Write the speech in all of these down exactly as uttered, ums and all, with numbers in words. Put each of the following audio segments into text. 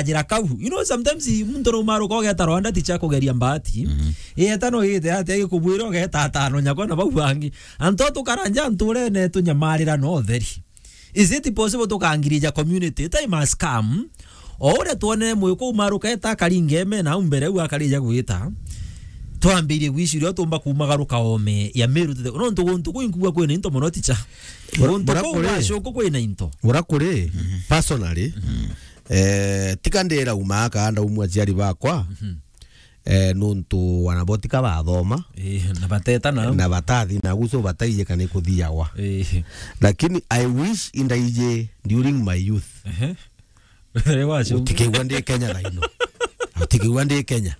ajira kau. You know, sometimes muntu no maruka ugeta Rwanda ticha kugeria mbati. Mhm. Iyeta no ite ati agikubwira ugeta atano nyakwa na bau bangi. Antu tukaranja nturene tunyamarira no theri. Is it possible tukangirija community? Time has come. O uria twonere mwiku umaruka eta akaringa eme na au mbere au akarija gwita. Twambirie gwiciria uria tumba kumagaruka ome ya Meru tete. Nontu guntu kwi nkugua kwina into mono ticha. Bura-, guntu bura kuu kuri, gwa Cuku kwina into. Bura kuri, personally, eh, tika ndira uma aka ndaumwa aciari bakwa. Mhm. Eh, nontu wana bo tika bathoma. Eh, na bateta na. Na batathi na guso bataiye kana ikuthiagwa. Eh. Lakini I wish indaije during my youth. Ehe. Utikigua ndi Kenya thaino. Utikigua ndi Kenya.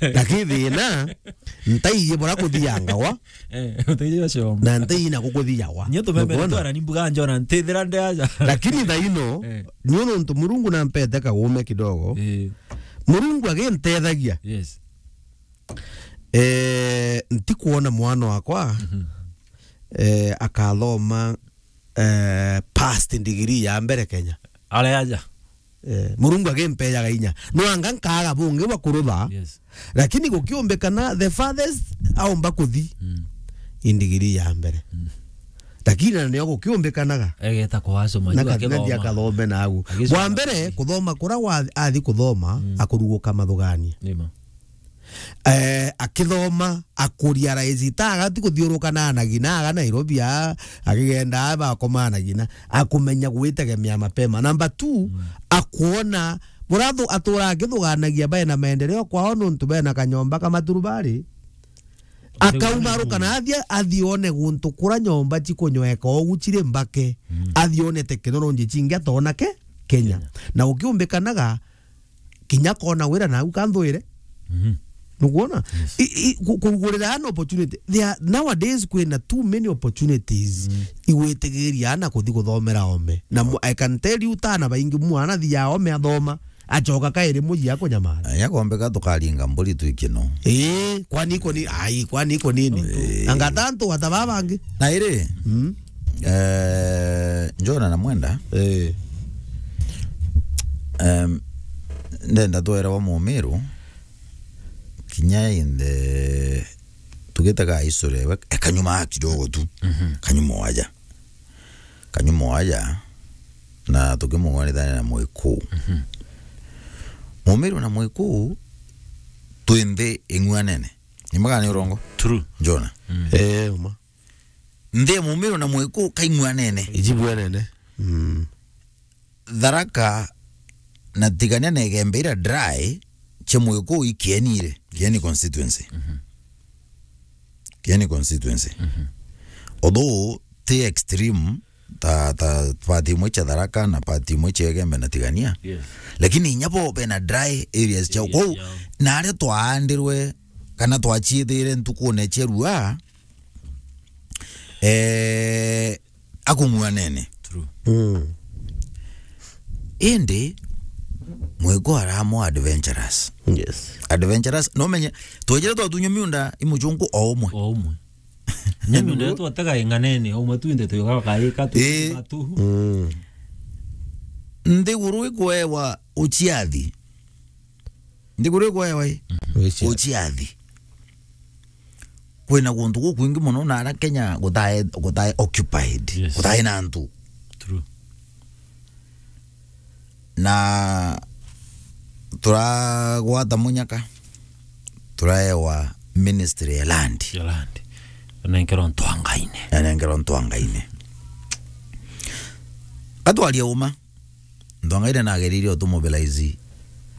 Lakini thina, ntaiye bura kuthiangagwa. Eh, ntaiye bacomba. Na ntaiye na kukuthiagwa. Nyo tumeme. Nukwona? Twara ni mbuga njona ntithira ndi aja. Lakini thaino, eh, nyo nontu Murungu nampete kagume kidogo. Eh. Murungu agintethagia. Yes. Eh, ntikwona mwana wakwa, mhm, eh, akathoma, eh, past degree ya mbere Kenya. Are aja. Eh, Murungu agimpejaga inya. No anga nkaaga bungi bwa kurutha. Yes. Lakini gukiumbikana the farthest aumba kuthi. Mm. I degree ya mbere. Mm. Lakini na nio gukiumbikanaga. Egeta kwa asoma. Na juu kathina akithoma. Akathome nagu. Agicoma. Wa mbere, kuthoma kura wa athi kuthoma, mm, akuruguka mathugania. Nima. Eh, akithoma, akuria raisi, ta agati kuthiuruka na anagina aga Nairobi a, akigenda a bakoma anagina, akumenya gwitegemea mapema. Number two, mm, akuona, burathu-, atura akithuganagia bae na maendeleo kwao nontu bena kanyomba ka maturubari. Akaumaruka na athia, athi one guntu kura nyomba cikunyweka ogu ciri mbake. Mm. Athi one teknolonji cingi atona ke Kenya. Kenya. Na ukiumbikanaga, kinya kona wira nau kanthuire. Mhm. Nukwona? Yes. I, i, ku-, kurugurira an opportunity. There are, nowadays kwina too many opportunities. Mm. Igwitigiria ana kuthi kuthomera ome. Na mu-, I can tell you, tana baingi mwana thia ome athoma. Acoka kairi muji akunyamara. Aya kombeka tukaringa mburi twikino. Ii, kwani iko ni, ai, kwani iko nini? Ii. Anga tantu wata babangi. Na iri, mm, eh, Njona na Mwenda. Ii. Em, ndenda twerewa Mumiru, kinya in the, tugitaga history, we, e kanyuma kidogo tu. Mhm. Kanyuma waja. Kanyuma waja, na tukimugwanithania na Mwikuu. Mhm. Mumiru na Mwikuu, twi nthi ing'uanene. Ni mbaga ni urongo? True. Njona. Mm. Eh, uma. Nthi ya Mumiru na Mwikuu kaing'uanene. Ijibwanene. Mm. Tharaka na Tigania na Igembe ira dry, cia Mwikuu i Kieni ire, Kieni constituency. Mhm. Kieni constituency. Mhm. Although ti extreme, ta, ta part imwe cia Tharaka na part imwe cia Igembe na Tigania. Yes. Lakini inya bo bena dry areas ciao. Areas kwou, ciao. Na aria twaandirwe, kana twaciithire ntukune cia rua, eh, akung'uanene. True. Mm. Indi, Mwikuu ara more adventurous. Yes. Adventurous, no menye, twejire twatunywa miunda i muchunku o umwe. O umwe. Nyambi ndio twatega ing'anene, o umwe twinde tuyoga kaika tu. Ii. Matu. Mm. Nthiguru ikwewa uciathi. Nthiguru ikwewa i? Mhm. Uciathi. Uciathi. Kwina guntu gukwingi mono na ara Kenya gutae, gutae occupied, yes, gutae na antu. True. Na turagwata munyaka, turaewa ministry ya land. Ya land. Nenkerwa ntwangaine. Na nenkerwa ntwangaine. Atwaria uma. Ntwangaine nagerire utumobilize.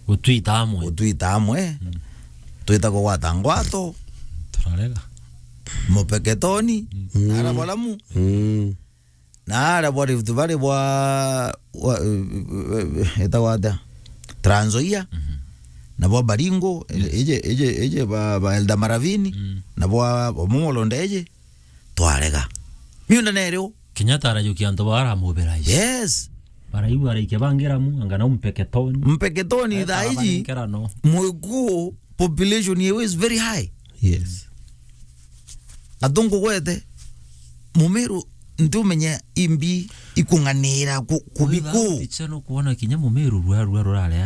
Gutwita amwe. Gutwita amwe. Mm. Twita kugwata ngwato. Turarega. Mupeketoni. Mm. Ara balamu. Mm. Na ara bwa Rift Valley bwa, bwa, eh, eh, etagwa atia? Trans Nzoia. Mhm. Na bwa Baringo, yes, eje, eje, eje ba, ba Elda Maravini. Mm. Na bwa, bwa Mumolonde eje. Twarega. Miunda nerio. Kenyatta arajukia antu bara mobilize. Yes. Baraibu araikia bangira mu, anga na Mpeketoni. Mpeketoni. Eta thaa iji, abanenkerano. Mwikuu population yewe is very high. Yes. Atungugwete, Mumiru, ntiumenya imbi ikung'anira ku-, kubiku. Ticha no kuona kinya Mumiru rua, rua rurare